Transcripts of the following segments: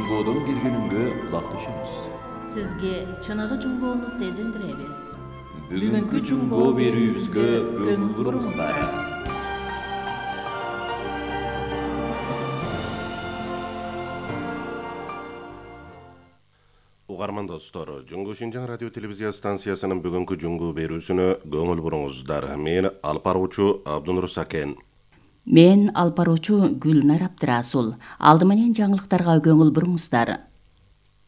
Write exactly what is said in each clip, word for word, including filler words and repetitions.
Жуңгоодон келгениңге бактышыбыз. Сизге чыныгы жуңгоону сезиндиребиз. Бүгүнкү жуңгоо берүүбүзгө көңүл буруңуздар. Угарман достор, Жуңгоо Шинжаң радио телевизия станциясынын бүгүнкү жуңгоо берүүсүнө көңүл буруңуздар. Мен алып баруучу Абдунур Сакен. Мен алып баруучу Гүлнар Абдырасул. Алды менен жаңылыктарга көңүл буруңуздар.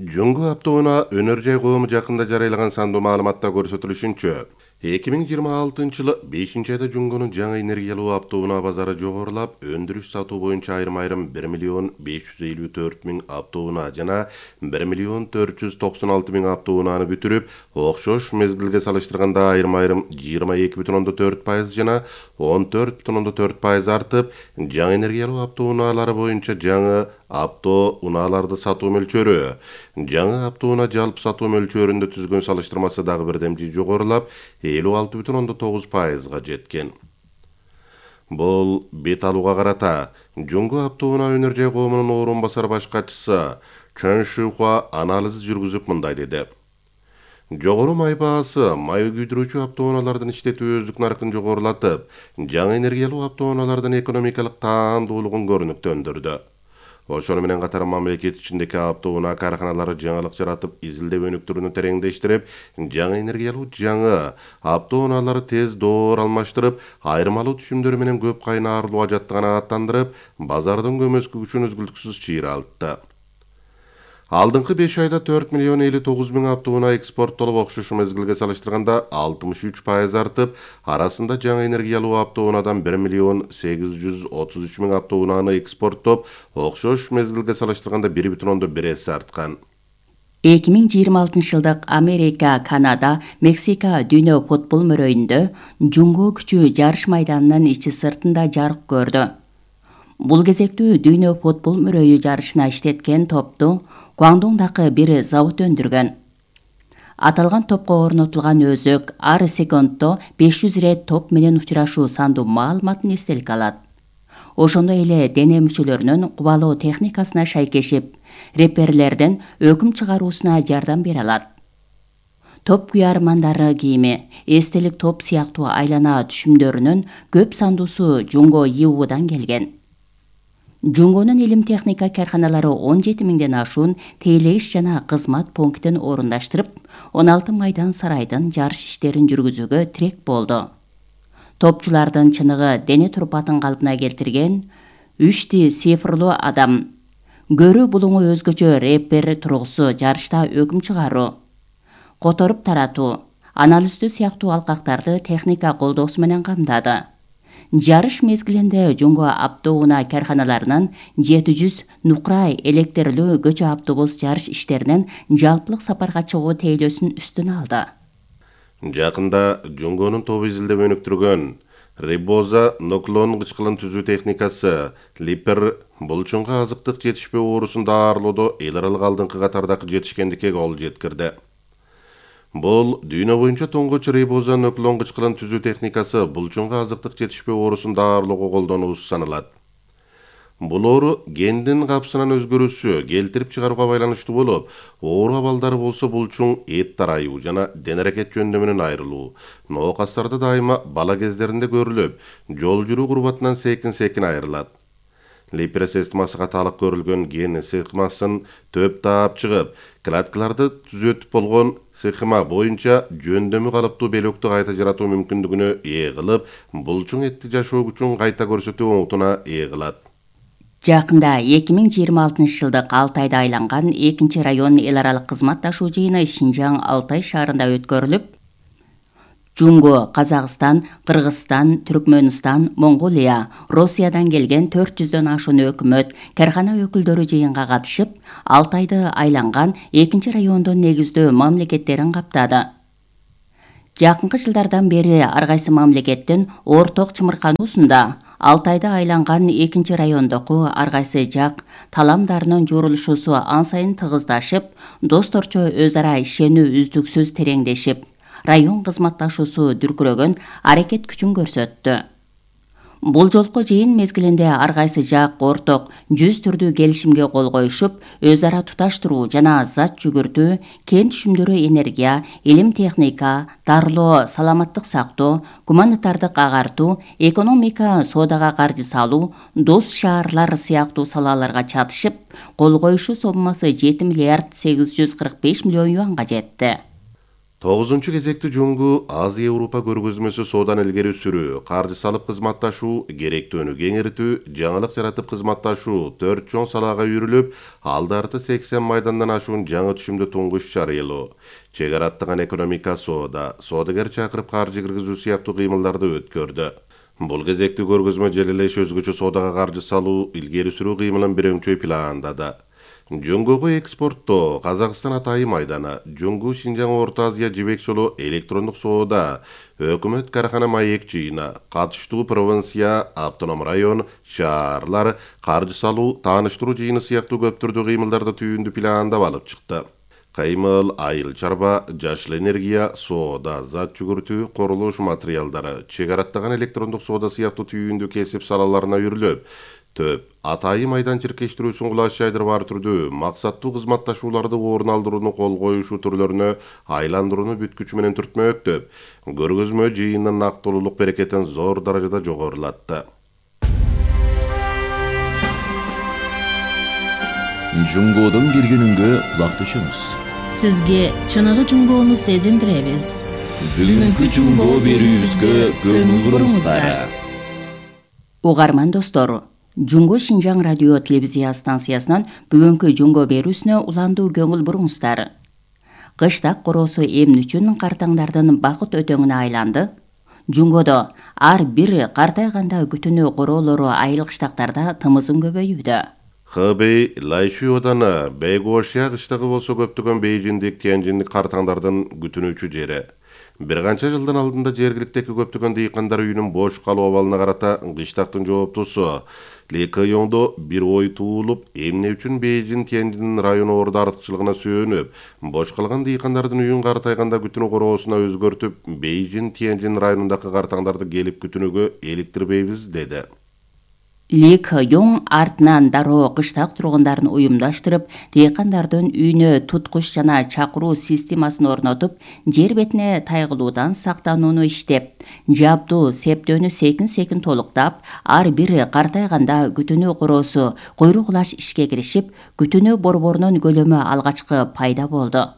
Жуңгоо аптоуна өнөр жай коому жакында жарыйлаган сандуу маалыматта көрсөтүлүшүнчө, эки миң жыйырма алтынчы жылы бешинчи айда жуңгонун жаңы энергиялуу аптоуна базары жогорулап, өндүрүш сатуу боюнча айрым-айрым бир миллион беш жүз элүү төрт миң аптоуна жана бир миллион төрт жүз токсон алты миң аптоунаны бүтүрүп, окшош мезгилге салыштырганда айрым-айрым жыйырма эки бүтүн ондон төрт пайыз жана он төрт бүтүн ондон төрт пайыз артып, жаңы энергиялуу аптоуналары боюнча жаңы автоунааларды сатуу мөлчөрү жаңы автоунаа жалпы сатуу мөлчөрүндө түзгөн салыштырмасы дагы бирдемчи жогорулап, элүү алты бүтүн ондон тогуз пайызга жеткен. Бул бет алууга карата Жуңгоо автоунаа өнөр жай коомунун орун басар баш катчысы Чен Шихуа анализ жүргүзүп мындай деди. Жогору май баасы май күйдүрүүчү автоунаалардын иштетүүбүздүк наркын жогорулатып, жаңы энергиялуу автоунаалардын экономикалык таандуулугун көрүнүктөндүрдү. Ошону менен катар мамлекет ичиндеги автоунаа каарханалары жаңылык жаратып, изилдөө өнүктүрүүнү тереңдештирип, жаңы энергиялуу жаңы автоунаалары тез доор алмаштырып, айырмалуу түшүмдөр менен көп кайнаарылуу ажатты канааттандырып, базардын көмөскү күчүн үзгүлтүксүз чыйралтты. Алдыңкы беш айда төрт миллион элүү тогуз миң автоунаа экспорттолуп, окшош мезгилге салыштырганда алтымыш үч пайыз артып, арасында жаңы энергиялуу автоунаадан бир миллион сегиз жүз отуз үч миң автоунааны экспорттоп, окшош мезгилге салыштырганда бир бүтүн ондон бир эсе арткан. эки миң жыйырма алтынчы жылдык Америка, Канада, Мексика дүйнө футбол мөрөйүндө жуңгоо күчү жарыш майданынын ичи сыртында жарык көрдү. Бул кезектүү дүйнө футбол мөрөйү жарышына иштеткен топту Гуандоңдагы бир завод өндүргөн. Аталган топко орнотулган өзөк ар секундто беш жүз ирет топ менен учурашуу сандуу маалыматын эстеликке алат. Ошондой эле дене мүчөлөрүнүн кубалоо техникасына шайкешип, реперлерден өкүм чыгаруусуна жардам бере алат. Топ күйармандары кийими, эстелик топ сыяктуу айлана түшүмдөрүнүн көп сандуусу Жуңгоо И У'дан келген. Жуңгоонун илим техника карханалары он жети миңден ашуун тейлегиш жана кызмат пунктин орундаштырып, он алты майдан сарайдын жарыш иштерин жүргүзүүгө тирек болду. Топчулардын чыныгы дене турпатын калпына келтирген үч ди цифрлуу адам. Көрүү булуңу өзгөчө репер тургусу жарышта өкүм чыгаруу, которуп таратуу, анализдөө сыяктуу алкактарды техника колдоосу менен камдады. Жарыш мезгилинде Жуңгоо автоунаа карханаларынын жети жүз нукрай электрлүү көчө автобус жарыш иштеринен жалпылык сапарга чыгуу тейлөөсүн үстүнө алды. Жакында Жуңгоонун тобу изилдеп өнүктүргөн рибоза нуклеон кычкылын түзүү техникасы Липер булчуңга азыктык жетишпөө оорусун даарылоодо эл аралык алдыңкы катардагы жетишкендикке кол жеткирди. Бул дүйнө боюнча тоңгоч рибоза нуклеон кычкылын түзүү техникасы булчуңга азыктык жетишпөө оорусун даарылоого колдонулуусу саналат. Бул оору гендин капсынын өзгөрүүсү келтирип чыгарууга байланыштуу болуп, оору абалдары болсо булчуң эт тарайуу жана дене аракет жөндөмүнөн айрылуу, ноокастарда дайыма бала кездеринде көрүлүп, жол жүрүү курбатынан секин-секин айрылат. Липер системасына талык көрүлгөн ген сыйкмасын төп таап чыгып, клеткаларды түзөтүп болгон сыйкма боюнча жөндөмү калыптуу белөктү кайта жаратуу мүмкүндүгүнө ээ кылып, булчуң этти жашоо күчүн кайта көрсөтүү оңутуна ээ кылат. Жакында эки миң жыйырма алтынчы жылдык Алтайда айланган экинчи район эл аралык кызматташуу жыйыны Шинжаң Алтай шаарында өткөрүлүп, Жуңгоо, Казакстан, Кыргызстан, Түркмөнстан, Монголия, Россиядан келген төрт жүздөн ашуун өкмөт, кархана өкүлдөрү жыйынга катышып, Алтайды айланган экинчи райондун негиздөө мамлекеттерин каптады. Жакынкы жылдардан бери ар кайсы мамлекеттин орток чымыркануусунда Алтайды айланган экинчи райондогу ар кайсы жак таламдарынын журулушусу ан сайын тыгыздашып, досторчо өз ара ишенүү үздүксүз тереңдешип, район кызматташуусу дүркүрөгөн аракет күчүн көрсөттү. Бул жолку жыйын мезгилинде ар кайсы жак орток жүз түрдүү келишимге кол коюшуп, өз ара туташтыруу жана зат жүгүртүү, кен түшүмдөрү энергия, илим техника, дарылоо, саламаттык сактоо, гуманитардык агартуу, экономика, соодага каржы салуу, дос шаарлар сыяктуу салаларга чатышып, кол коюшу соммасы жети миллиард сегиз жүз кырк беш миллион юанга жетти. тогузунчу кезекти жуңгу Азия Европа көргөзмөсү соодан илгери сүрүү, каржы салып кызматташуу, керектүүнү кеңиртүү, жаңылык жаратып кызматташуу төрт чоң салаага үйрүлүп, алды арты сексен майдандан ашуун жаңы түшүмдү туңгуш чарыйлоо, чек ара аттаган экономика соода, соодагер чакырып каржы киргизүү сыяктуу кыймылдарды өткөрдү. Бул кезекти көргөзмө желелеш өзгөчө соодага каржы салуу, илгери сүрүү кыймылын бирөңчөй пландады. Жуңгуга экспорттоо Казакстан атайын майданы, Жуңгу Шинжаң Орто Азия жибек жолу электрондук соода, өкмөт карахана маек жыйына, катыштуу провинция, автоном район, шаарлар, каржы салуу, тааныштыруу жыйыны сыяктуу көп түрдүү кыймылдарды түйүндү пландап алып чыкты. Кыймыл, айыл чарба, жашыл энергия, соода, зат жүгүртүү, курулуш материалдары, чек ара аттаган электрондук соода сыяктуу түйүндү кесип салаларына үйрүлүп, төп атайын майдан чиркештирүүсүн кулаш жайдырып ар түрдүү максаттуу кызматташууларды орун алдырууну кол коюшуу түрлөрүнө айландырууну бүткүчү менен түртмөктөп, көргөзмө жыйынын нактылуулук берекетин зор даражада жогорулатты. Жуңгоодон келгенүнгө кулак түшөмүз. Сизге чыныгы жуңгоону сезиндиребиз. Бүгүнкү жуңгоо берүүбүзгө көңүл буруңуздар. Угарман достор, Жуңго Шинжаң радио телевизия станциясынан бүгүнкү жуңго берүүсүнө уландуу көңүл буруңуздар. Кыштак короосу эмне үчүн картаңдардын бакыт өтөңүнө айланды? Жуңгодо ар бир картайганда күтүнүү короолору айыл кыштактарда тымызын көбөйүүдө. Хэбэй, Лайшуй оданы, Бэйгуошия кыштагы болсо көптөгөн бейжиндик, тянжиндик картаңдардын күтүнүүчү жери. Бир канча жылдан алдында жергиликтеги көптөгөн дыйкандар үйүнүн бош калуу абалына карата кыштактын жооптусу Ли Кэйоңдо бир ой туулуп, эмне үчүн Бейжин Тяньжин району орду артыкчылыгына сүйөнүп, бош калган дыйкандардын үйүн картайганда күтүнүү короосуна өзгөртүп, Бейжин Тяньжин районундагы картаңдарды келип күтүнүүгө иликтирбейбиз деди. Ли Кэйоң артынан дароо кыштак тургундарын уюмдаштырып, дыйкандардын үйүнө туткуч жана чакыруу системасын орнотуп, жер бетине тайгылуудан сактанууну иштеп, жабдуу септөөнү секин-секин толуктап, ар бир картайганда күтүнүү короосу куйругулаш ишке киришип, күтүнүү борборунун көлөмү алгачкы пайда болду.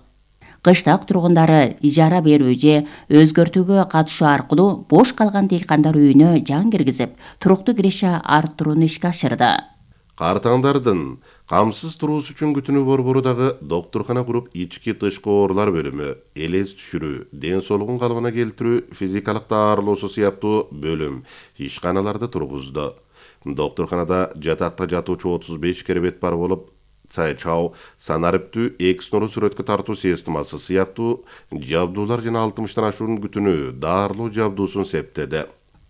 Кыштак тургундары ижара берүү же өзгөртүүгө катышуу аркылуу бош калган дыйкандар үйүнө жан киргизип, туруктуу киреше арттырууну ишке ашырды. Картаңдардын камсыз туруусу үчүн күтүнүү борбору дагы доктуркана куруп, ички тышкы оорулар бөлүмү, элес түшүрүү, ден соолугун калыбына келтирүү, физикалык даарылоосу сыяктуу бөлүм, ишканаларды тургузду. Доктурканада жатакта жатуучу отуз беш керебет бар болуп, Цайчау санариптүү экснору сүрөткө тартуу системасы сыяктуу жабдуулар жана алтымыштан ашуун күтүнүү даарылоо жабдуусун септеди.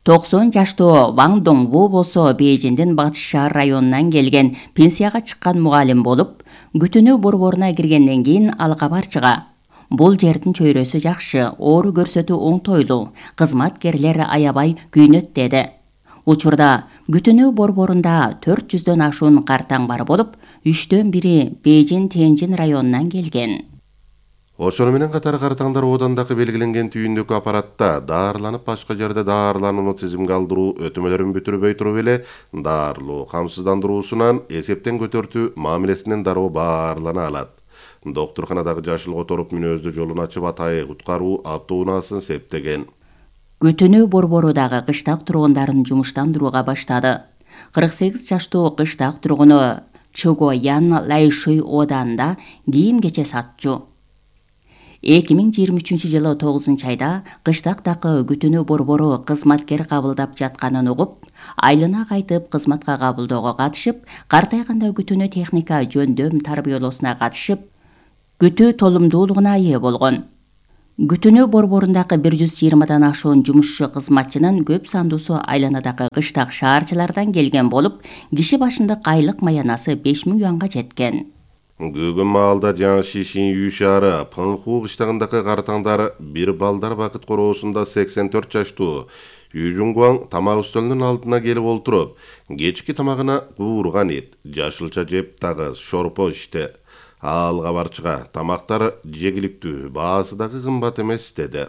токсон жаштуу Ван Доңву болсо Бейжиңдин батыш шаар районунан келген пенсияга чыккан мугалим болуп, күтүнүү борборуна киргенден кийин ал кабар чыга. Бул жердин чөйрөсү жакшы, оору көрсөтүү оңтойлуу, кызматкерлер аябай күйүнөт деди. Учурда күтүнүү борборунда төрт жүздөн ашуун картаң бар болуп, үчтөн бири Бейжин Тяньжин районунан келген. Ошону менен катар картаңдар оодандагы белгиленген түйүндөгү аппаратта даарыланып, башка жерде даарыланууну тизимге алдыруу өтүмөлөрүн бүтүрбөй туруп эле даарылоо камсыздандыруусунан эсептен көтөртүү мамилесинен дароо баарлана алат. Доктурканадагы жашыл которуп мүнөздүү жолун ачып, атайы куткаруу автоунаасын септеген. Күтүнүү борбору дагы кыштак тургундарын жумуштандырууга баштады. кырк сегиз жаштуу кыштак тургуну Чугоян Лайшуй оданында кийим кече сатчу. эки миң жыйырма үчүнчү жылы тогузунчу айда кыштактагы күтүнүү борбору кызматкер кабылдап жатканын угуп, айылына кайтып кызматка кабылdoого катышып, картайганда күтүнүү техника жөндөм тарбиялоосуна катышып, күтүү толумдуулугуна ээ болгон. Күтүнүү борборундагы бир жүз жыйырмадан ашуун жумушчу кызматчынын көп сандуусу айланадагы кыштак шаарчылардан келген болуп, киши башындык айлык маянасы беш миң юанга жеткен. Бүгүн маалда Жаңши Шинью шаары Пыңху кыштагындагы картаңдар бир балдар бакыт короосунда сексен төрт жаштуу Үй Жунгуаң тамак үстөлүнүн алдына келип олтуруп, кечки тамагына куурган эт, жашылча жеп дагы шорпо ичти. Ал кабарчыга тамактар жегиликтүү, баасы дагы кымбат эмес деди.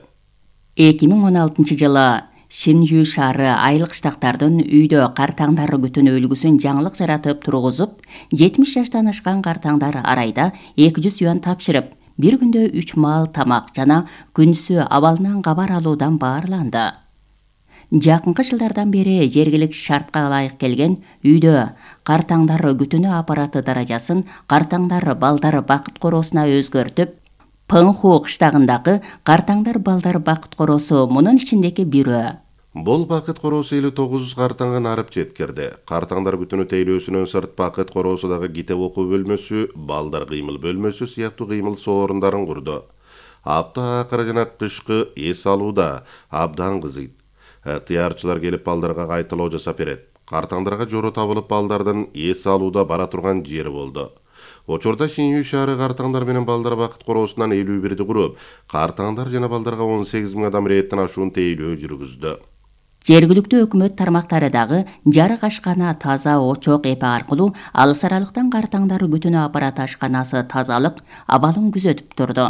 эки миң он алтынчы жылы Шинью шаары айыл кыштактардын үйдө картаңдары күтүүнү үлгүсүн жаңылык жаратып тургузуп, жетимиш жаштан ашкан картаңдар арайда эки жүз юан тапшырып, бир күндө үч маал тамак жана күнсү абалынан кабар алуудан баарланды. Жакынкы жылдардан бери жергиликтүү шартка ылайык келген үйдө картаңдар күтүүнү аппараты даражасын картаңдар балдар бакыт короосуна өзгөртүп, Пыңху кыштагындагы картаңдар балдар бакыт короосу мунун ичиндеги бирөө. Бул бакыт короосу элүү тогуз картаңга арып жеткирди. Картаңдар күтүүнү тейлөөсүнөн сырт бакыт короосу дагы китеп окуу бөлмөсү, балдар кыймыл бөлмөсү сыяктуу кыймыл соорундарын курду. Апта акыры жана кышкы эс алууда абдан кызыйт. Ыктыярчылар келип балдарга кайталоо жасап берет. Картаңдарга жору табылып балдардын эс алууда бара турган жери болду. Учурда Шинью шаары картаңдар менен балдар бакыт короосунан элүү бирди куруп, картаңдар жана балдарга он сегиз миң адам рейттен ашуун тейлөө жүргүздү. Жергиликтүү өкмөт тармактары дагы жарык ашкана таза очок эпи аркылуу алыс аралыктан картаңдар күтүүнү аппараты ашканасы тазалык абалын күзөтүп турду.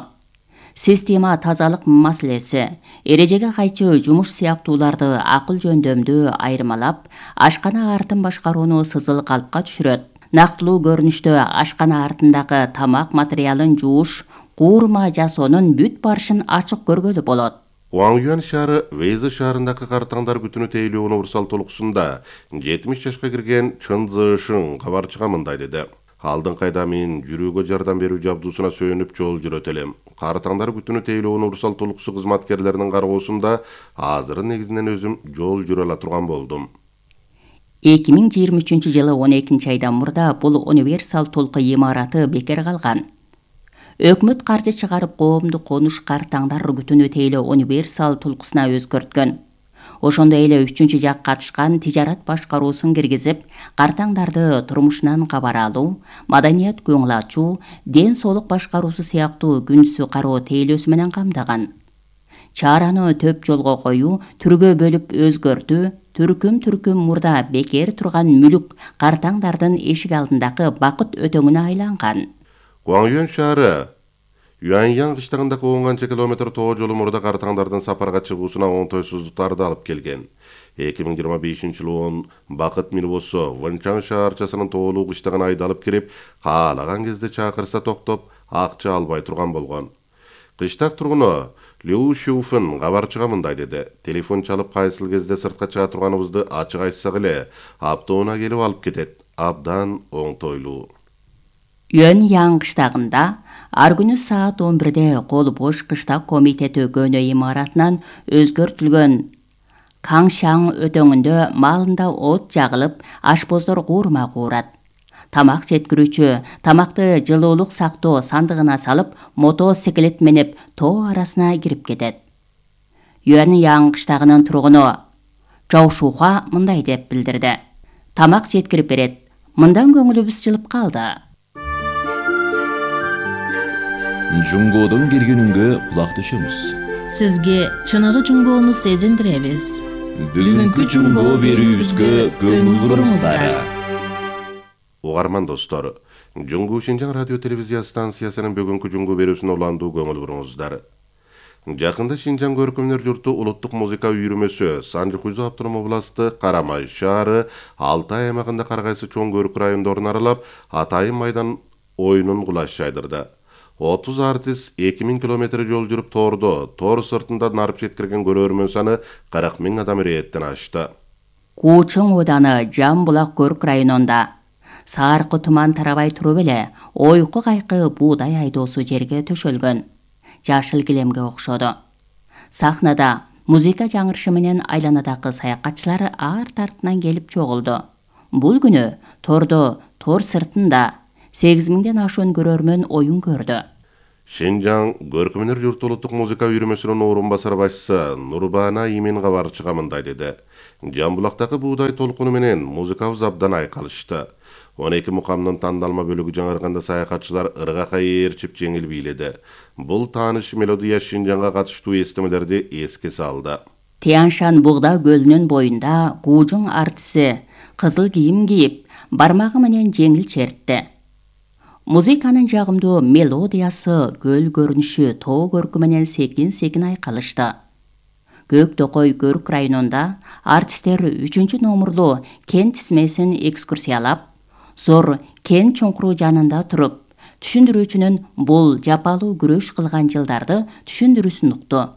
Система тазалык маселеси, эрежеге кайчы жумуш сыяктууларды акыл жөндөмдүү айырмалап, ашкана артын башкарууну сызыл калпка түшүрөт. Нактылуу көрүнүштө ашкана артындагы тамак материалын жууш, куурма жасоонун бүт барышын ачык көргөлү болот. Уаңюан шаары Вейзы шаарындагы картаңдар күтүүнү тейлөө универсал толукусунда жетимиш жашка кирген Чын Зышың кабарчыга мындай деди. Алдыңкы айда мен жүрүүгө жардам берүү жабдуусуна сүйөнүп жол жүрөт элем. Картаңдар күтүүнү тейлөө универсал толукусу кызматкерлеринин кароосунда азыр негизинен өзүм жол жүрө ала турган болдум. эки миң жыйырма үчүнчү жылы он экинчи айдан мурда бул универсал толку имараты бекер калган. Өкмөт каржы чыгарып коомдук конуш картаңдар күтүүнү тейлөө универсал толкусуна өзгөрткөн. Ошондой эле үчүнчү жак катышкан тижарат башкаруусун киргизип, картаңдарды турмушунан кабар алуу, маданият көңүл ачуу, ден соолук башкаруусу сыяктуу күнсү кароо тейлөөсү менен камдаган. Чараны төп жолго коюу, түргө бөлүп өзгөртүү, түркүм-түркүм мурда бекер турган мүлүк картаңдардын эшик алдындагы бакыт өтөңүнө айланган. Уаңюан шаары Юаньян кыштагындагы он канча километр тоо жолу мурда картаңдардын сапарга чыгуусуна оңтойсуздуктарды алып келген. эки миң жыйырма бешинчи жылы он бакыт минибусу Вэнчан шаарчасынын тоолуу кыштагына айдалып кирип, каалаган кезде чакырса токтоп, акча албай турган болгон. Кыштак тургуну Лю Шуфын кабарчыга мындай деди. Телефон чалып кайсыл кезде сыртка чыга турганыбызды ачык айтсак эле, аптоуна келип алып кетет. Абдан оңтойлуу. Юаньян кыштагында ар күнү саат он бирде кол бош кыштак комитети көнө имаратынан өзгөртүлгөн Каңшаң өтөңүндө малында от жагылып, ашпоздор куурма куурат. Тамак жеткирүүчү тамакты жылуулук сактоо сандыгына салып, мотоциклет менеп тоо арасына кирип кетет. Юаньян кыштагынын тургуну Жаушуха мындай деп билдирди. Тамак жеткирип берет. Мындан көңүлүбүз жылып калды. Жунгодон келгенүнгө кулак түшөмүз. Сизге чыныгы жунгоону сезиндиребиз. Бүгүнкү жунго берүүбүзгө көңүл буруңуздар. Угарман достор, Жунгу Шинжаң радио телевизия станциясынын бүгүнкү жунгу берүүсүнө уландуу көңүл буруңуздар. Жакында Шинжаң көркөмдөр журту улуттук музыка үйрүмөсү Санжы-Кузу автоном областы Карамай шаары Алтай аймагында ар кайсы чоң көрк райондорун аралап, Атайын майдан оюнун кулаш жайдырды. отуз артист эки миң километр жол жүрүп тоордо, тоор сыртында нарып жеткирген көрөрмөн саны кырк миң адам рейттен ашты. Куучуң ооданы Жамбулак көрк районунда сааркы туман тарабай туруп эле ойку кайкы буудай айдоосу жерге төшөлгөн. Жашыл килемге окшоду. Сахнада музыка жаңырышы менен айланадагы саякатчылар арт артынан келип чогулду. Бул күнү тордо, тор сыртында сегиз миңден ашуун көрөрмөн оюн көрдү. Шинжаң көркөмдөр журту улуттук музыка үйрүмөсүнүн орун басар башчысы Нурбана Имин кабарчыга мындай деди. Жамбулактагы буудай толкуну менен музыкабыз абдан айкалышты. он эки мукамдын тандалма бөлүгү жаңырганда саякатчылар ыргакка ээрчип жеңил бийледи. Бул тааныш мелодия Шинжаңга катыштуу эстемелерди эске салды. Тяньшан Бугда көлүнүн боюнда Гужуң артиси кызыл кийим кийип, бармагы менен жеңил чертти. Музыканын жагымдуу мелодиясы, көл көрүнүшү, тоо көркү менен секин-секин айкалышты. Көк Токой Көрүк районунда артисттер үчүнчү номурлуу кен тизмесин экскурсиялап, зор кен чуңкуру жанында туруп, түшүндүрүүчүнүн бул жапалуу күрөш кылган жылдарды түшүндүрүүсүн укту.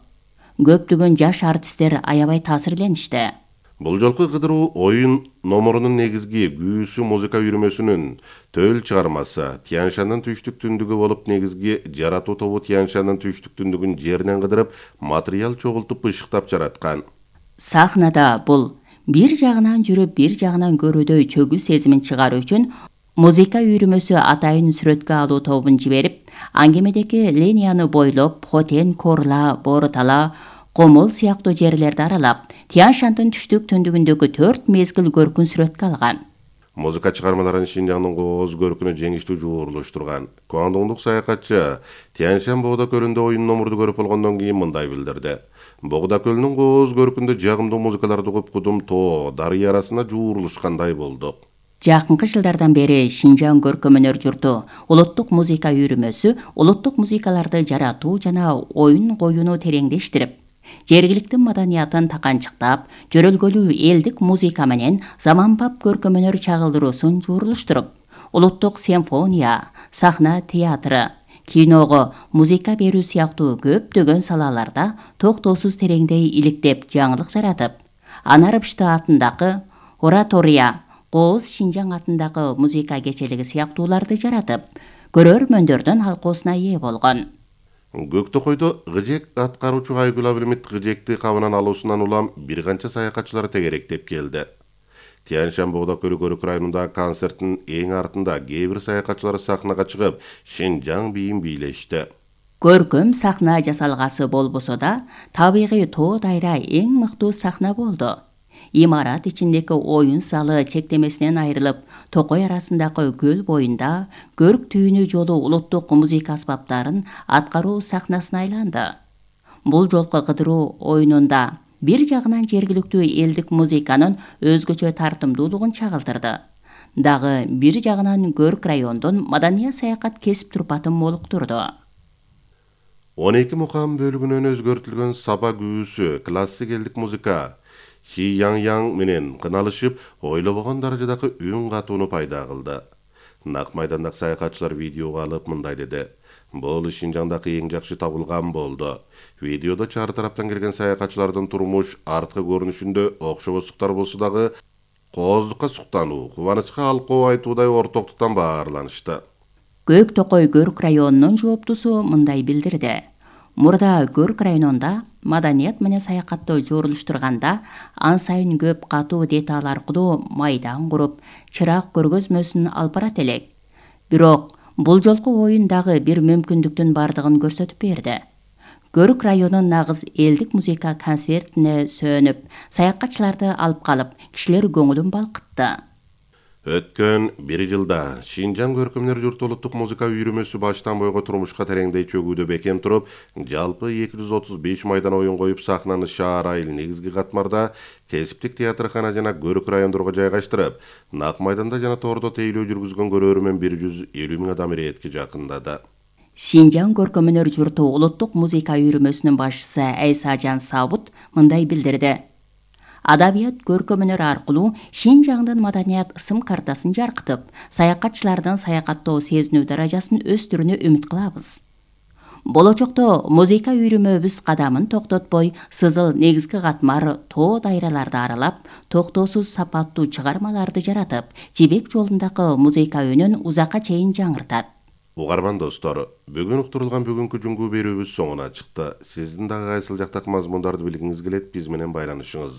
Көптөгөн жаш артисттер аябай таасирленишти. Бул жолку кыдыруу оюн номорунун негизги күүсү музыка үйрөмөсүнүн төл чыгармасы Тяньшандын түштүк түндүгү болуп, негизги жаратуу тобу Тяньшандын түштүк түндүгүн жеринен кыдырып, материал чогултуп ышыктап жараткан. Сахнада бул бир жагынан жүрүп, бир жагынан көрүүдөй чөгүү сезимин чыгаруу үчүн музыка үйрөмөсү атайын сүрөткө алуу тобун жиберип, аңгемедеки линияны бойлоп, Хотен, Корла, Боротала, Комол сыяктуу жерлерди аралап, Тяньшандын түштүк түндүгүндөгү төрт мезгил көркүн сүрөткө алган. Музыка чыгармаларын Шинжаңдын кооз көркүнө жеңиштүү жуурулуштурган Куандоңдук саякатчы Тяньшан Богда көлүндө оюн номурду көрүп болгондон кийин мындай билдирди. Богда көлүнүн кооз көркүндө жагымдуу музыкаларды угуп, Кудум тоо, дарыя арасына жуурулушкандай болдук. Жакынкы жылдардан бери Шинжаң көркөм өнөр журту улуттук музыка үйрөмөсү улуттук музыкаларды жаратуу жана оюн коюуну тереңдештирип, жергиликтүү маданиятын таканчыктап, жөрөлгөлүү элдик музыка менен заманбап көркөм өнөр чагылдыруусун жуурулуштуруп, улуттук симфония, сахна театры, киного музыка берүү сыяктуу көптөгөн салаларда токтоосуз тереңдей иликтеп, жаңылык жаратып, Анарбышты атындагы оратория, Кооз Шинжаң атындагы музыка кечелиги сыяктууларды жаратып, көрөрмөндөрдүн алкоосуна ээ болгон. Көк Токойдо Гыжек аткаруучу Айгүл Абылмит Гыжекти кабынан алуусунан улам бир канча саякатчылар тегеректеп келди. Тяньшан Богда көлү Көрүк районунда концерттин эң артында кээ бир саякатчылар сахнага чыгып, Шинжаң бийин бийлешти. Көркөм сахна жасалгасы болбосо да, табигый тоо дайра эң мыктуу сахна болду. Имарат ичиндеги оюн залы чектемесинен айрылып, Токой арасындагы көл боюнда көрк түйүнү жолу улуттук музыка аспаптарын аткаруу сахнасына айланды. Бул жолку кыдыруу оюнунда бир жагынан жергиликтүү элдик музыканын өзгөчө тартымдуулугун чагылдырды. Дагы бир жагынан Көрк райондун маданият саякат кесип турпатын молуктурду. он эки мукам бөлүгүнөн өзгөртүлгөн саба күүсү классик элдик музыка Ши Яң Яң менен кыналышып, ойлобогон даражадагы үн катууну пайда кылды. Нак майдандагы саякатчылар видеого алып мындай деди. Бул Шинжаңдагы эң жакшы табылган болду. Видеодо чар тараптан келген саякатчылардын турмуш арткы көрүнүшүндө окшобостуктар болсо дагы кооздукка суктануу, кубанычка алкоо айтуудай ортоктуктан баарланышты. Көк Токой Көрк районунун жооптусу мындай билдирди. Мурда Көрк районунда маданият менен саякатты жуурулуштурганда ан сайын көп катуу деталь аркылуу майдан куруп, чырак көргөзмөсүн алып барат элек. Бирок бул жолку оюн дагы бир мүмкүндүктүн бардыгын көрсөтүп берди. Көрк районунун нагыз элдик музыка концертине сөнүп, саякатчыларды алып калып, кишилер көңүлүн балкытты. Өткөн бир жылда Шинжаң көркөм өнөр журту улуттук музыка үйрөмөсү баштан бойго турмушка тереңдей чөгүүдө бекем туруп, жалпы эки жүз отуз беш майдан оюн коюп, сахнаны шаар айыл негизги катмарда кесиптик театркана жана Көрк райондорго жайгаштырып, Нак майданда жана тордо тейлөө жүргүзгөн көрөрмөн бир жүз элүү миң адам иретке жакындады. Шинжаң көркөм өнөр журту улуттук музыка үйрөмөсүнүн башчысы Айсажан Сабут мындай билдирди. Адабият көркөм өнөр аркылуу Шинжаңдын маданият ысым картасын жаркытып, саякатчылардын саякаттоо сезинүү даражасын өстүрүүнү үмүт кылабыз. Болочокто музыка үйрөмөбүз кадамын токтотпой, сызыл негизги катмар тоо дайраларды аралап, токтоосуз сапаттуу чыгармаларды жаратып, жибек жолундагы музыка үнүн узакка чейин жаңыртат. Угарман достор, бүгүн уктурулган бүгүнкү жуңгуу берүүбүз соңуна чыкты. Сиздин дагы кайсыл жактагы мазмундарды билгиңиз келет, биз менен байланышыңыз.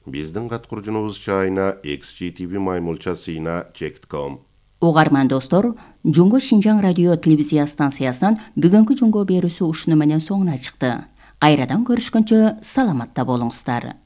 Биздин каткуржунубуз чайна экс джи ти ви маймылча сыйна чек точка ком. Угарман достор, Жуңго Шинжаң радио телевизия станциясынан бүгүнкү жуңгоо берүүсү ушуну менен соңуна чыкты. Кайрадан көрүшкөнчө саламатта болуңуздар.